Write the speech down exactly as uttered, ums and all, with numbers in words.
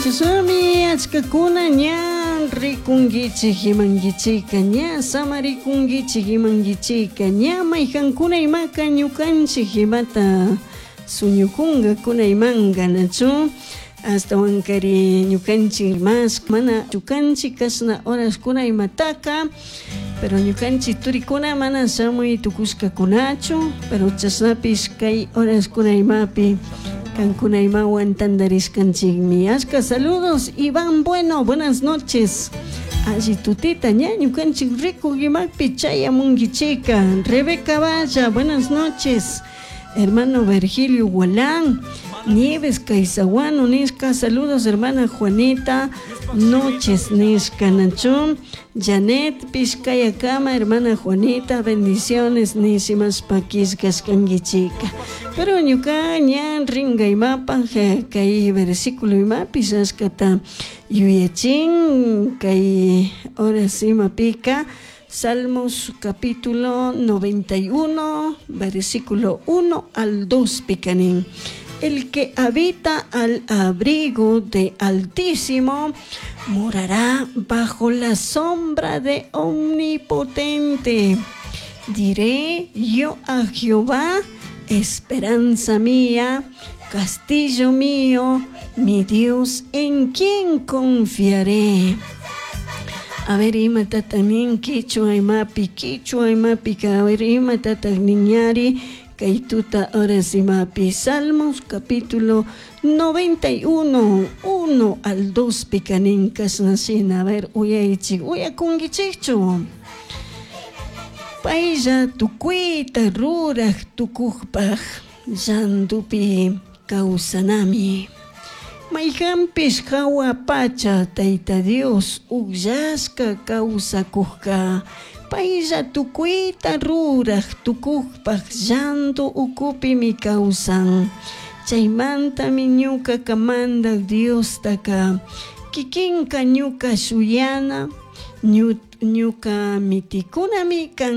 Chashnami achkakuna ña rikunkichik imankichika, ña samarikunkichik imankichika, ña mayjankuna imaka ñukanchik imata suñukunkakuna imanka, nachu? Ashtawankari ñukanchik mas mana ñukanchik kashna horaskuna imataka, pero ñukanchik turikuna mana shamuy tukushkakunachu, pero chashnapish kay horaskuna imapi kankuna imawan tantarishkanchikmi. Ashka saludos, Iván Bueno, buenas noches. Alli tutita ña ñukanchik rikuk imapi chayamunkichika. Rebeca Valla, buenas noches. Hermano Virgilio Gualán, Nieves Caizaguano, nishka, saludos hermana Juanita, noches nishka nacho, Janet Pishkayakama, hermana Juanita, bendiciones nishimas pakishkashkankichika. Pero ñuka ña ringa imapa, kay versículo imapi ashkata yuyachin, kay horas imapika, Salmos capítulo noventa y uno, versículo uno al dos, picanín. El que habita al abrigo de Altísimo morará bajo la sombra de Omnipotente. Diré yo a Jehová, esperanza mía, castillo mío, mi Dios, en quien confiaré. A ver, ima tatanin kichwa imapi, kichwa imapi, a ver, ima tataniñari, kay tuta horas imapi. Salmos capítulo noventa y uno, uno al dos, picanin kasnasina. A ver, uyaychik, uyakunkichikchu. Paylla tukuyta ruraj tukujpaj llantupi kawsanami. Mayhanpish hawa pacha Tayta Dios ukllashka kawsakujka, paylla tukuyta ruraj tukujpaj llantu ukupimi kawsan. Chaymantami ñukaka mandak Diostaka kikinka ñuka shuyana, ñuka mitikunami kan.